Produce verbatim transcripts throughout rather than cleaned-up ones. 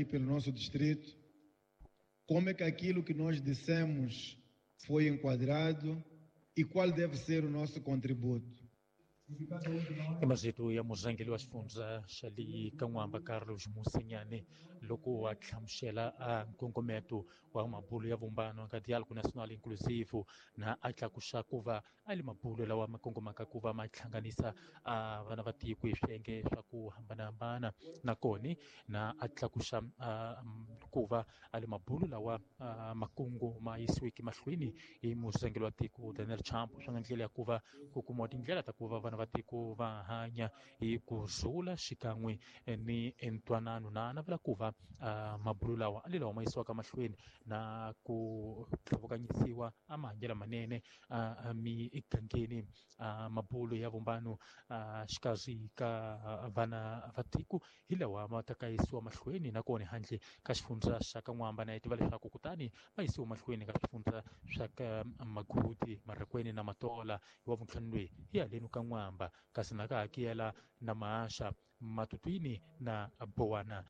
Pelo nosso distrito, como é que aquilo que nós dissemos foi enquadrado e qual deve ser o nosso contributo. I marito ya murhangeri wa xifundza xa le Kan'wamba Carlos Mosinyane loko a hlamusela a nkongometo wa mabulo ya vumbano ka Diálogo Nacional Inclusivo na a tlakusa ku va a le mabulo lawa ma kongomaka ku va ma hlanganisa a vana va tiko hi swiyenge swa ku hambanahambana nakona na a tlakusa ku va a le mabulo lawa makungu ma yisiweke mahlweni hi murhangeri wa tiko Daniel Chapo swa nga ndlela ya ku va ku kumiwa tindlela ta ku va vana va tiko va hanya hi ku rhula xikan'we ni ntwanano na navela ku va mabulo lawa a le lawa ma yisiwaka mahlweni na ku tlhavukanyisiwa a mahanyelo manene a migangeni mabulo ya vumbano xikarhi ka vana va tiko hi lawa ma ta ka yisiwa mahlweni nakona handle ka xifundza xa ka N'wamba na hi tiva leswaku kutani va yisiwa mahlweni ka swifundza swa ka Magudi Marikweni na Matola hi wa vuntlhanu loyi hi haleni ka N'wamba kasi na ka hakela na Mahasha Matutwini na Bowana.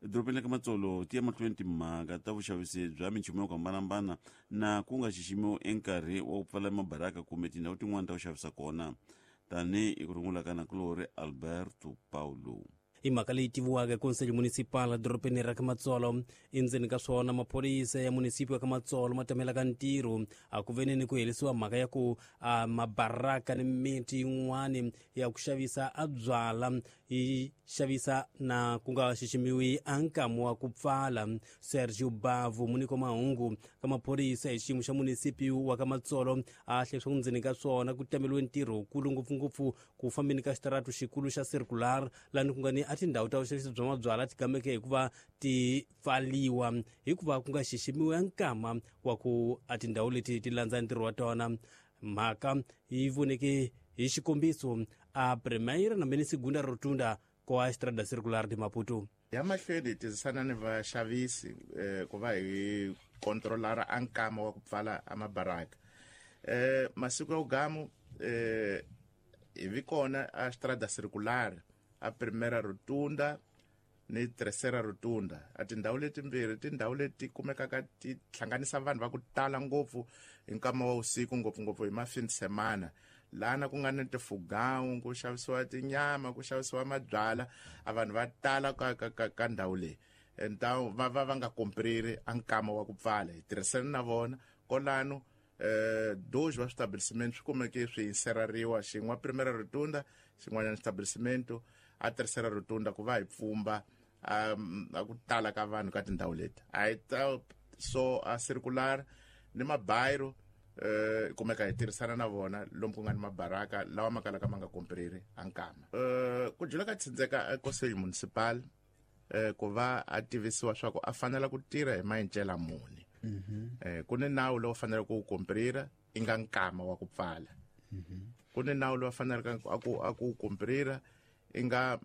Edorobeni ka Matsolo ti ya mahlweni timhaka ta vuxavisi bya minchumu yo hambanahambana na ku nga xiximiwi enkarhi wa ku pfala mabaraka kumbe tindhawu tin'wana ta ku xavisa kona tanihi ku rungula ka nakulorhi Alberto Paulo. I mhaka leyi tiviwaka Conselho Municipal dorobeni ra ka Matsolo endzeni ka swona maphorisa ya munisipio ya ka Matsolo ma tamelaka ntirho a ku veni ni ku herisiwa mhaka ya ku a mabaraka ni miti yin'wani ya ku xavisa a byala yi xavisa na ku nga xiximiwi a nkamu wa ku pfala. Sergio Bavu muniko mahungu ka maphorisa hi xiyimo xa munisipio wa ka Matsolo a hle swa ku ndzeni ka swona ku tameliwe ntirho wukulu ngopfungopfu ku fambeni ka xitaratu xikulu xa circular lani ku nga ni a tindhawu ta vuxavisi bya mabyala ti gameke hikuva ti pfaliwa hikuva ku nga xiximiwi nkama wa ku a tindhawu leti ti landza ntirho wa tona. Mhaka yi voneke hi xikombiso a Primeira na meni Segunda Rotunda kwa Estrada Circular de Maputo. Ya mahlweni hi tirhisana ni vaxavisi eh, ku va hi kontrolara a nkama wa ku pfala a mabaraka eh, masiku ya ugamu eh, hi vi kona a Estrada Circular a Primeira Rotunda ni Terceira Rotunda. A tindhawu letimbirhi tindhawu leti kumekaka ti hlanganisa vanhu va ku tala ngopfu hi nkama wa usiku ngopfungopfu hi mafini semana lana ku nga ni tifugawu ku xavisiwa tinyama ku xavisiwa mabyala a vanhu va tala ka ka ka, ka ndhawu leyi entawu va va va nga kompriri a nkama wa ku pfala hi tirhisana na vona kolano eh dois wa estabelecimento swi kumeke swi inserariwa xin'we Primeira Rotunda xin'wanyana estabelecimento a Terceira Rotunda ku va hi pfumba a ku tala ka vanhu ka tindhawu leti a hi ta so a circular ni mabayiro eh kumeka hi tirhisana na vona lomu ku nga ni mabaraka lawa ma kalaka ma nga kompriri a nkama eh ku jula ka tsindzeka Conselho Municipal eh ku va a tivisiwa swa ku a fanela ku tirha hi maendlela muni eh ku ni nawu lowu faneleke ku komprira i nga nkama wa ku pfala ku ni nawu lowu faneleke a ku a ku komprira i nga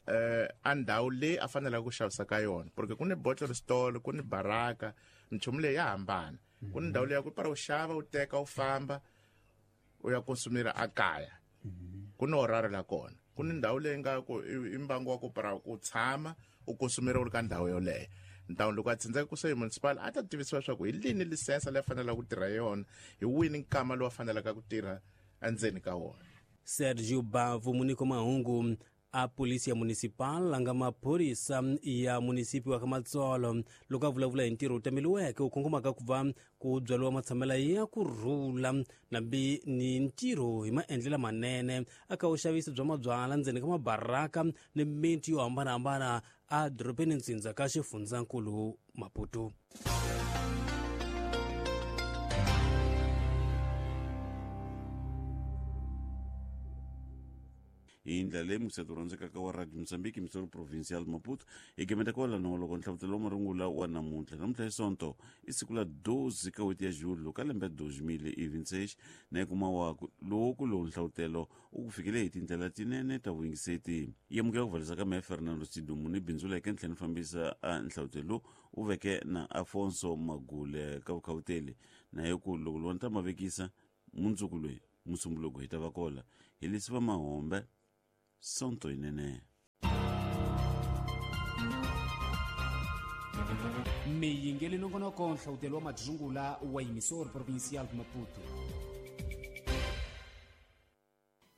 eh a ndhawu leyi a faneleke ku xavisa ka yona porque ku ni bottle store ku ni baraka minchumu leyi ya hambana ku ni ndhawu leyi ya ku para u xava u teka u famba u ya konsumira a kaya ku ni horario la kona ku ni ndhawu leyi nga ku i mbangu wa ku para ku tshama u konsumira u ri ka ndhawu yoleyo. Ndhawu loko a tsindzeka Conselho Municipal a ta tivisiwa leswaku hi lini lisensa leyi faneleke ku tirha yona hi wini nkama lowu faneleke ku tirha endzeni ka wona. Sergio Bavu muniko mahungu a polisia municipal nga maphorisa ya munisipio wa ka Matsolo loko a vulavula hi ntirho wu tameliweke wu kongomaka ku va ku byariwa matshamela ya ku rhula nambi ni ntirho hi maendlela manene aka vuxavisi bya mabyala ndzeni ka mabaraka ni miti yo hambanahambana a dorobeni ntsindza ka xifundzankulu Maputo. Hi ndlela leyi museto rhandzekaka wa Radio Mozambique Missouri Provincial Maputo hi gemeta kwalano loko nhlavutelo wa marungula wa namuntlha namuntlha hi sonto i siku la doze ka n'hweti ya julho ka lembe dois mil e vinte e seis na kuma waku lowu ku lowu nhlavutelo u ku fikele hi tindlela tinene ta vuyingiseti yi amukela ku valisa ka mehe Fernando Sidumu ni bindzu leke ntlhela ni fambisa a nhlavutelo u veke na Afonso Magule ka vukhawuteli na hi ku loko loko ni ta ma vekisa mundzuku loyi musumbuluko hi ta va kola hi lesiva mahombe Sonto inene. Miyingeli nongonoko nhlawutelo wa madzungula wa emissor provincial Maputo.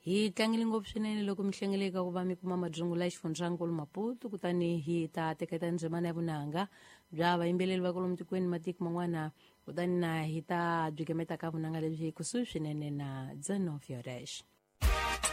Hi tlangele ngopfu swinene loko mi hlengeleka ku va mi kuma madzungula ya xifundzankulu Maputo, kutani hi ta teketa ndzimana ya vunanga bya vayimbeleri va kwalomu tikweni matiko man'wana, kutani na hi ta byi gemeta ka vunanga lebyi kusuhi swinene na Dzeno Fioresh.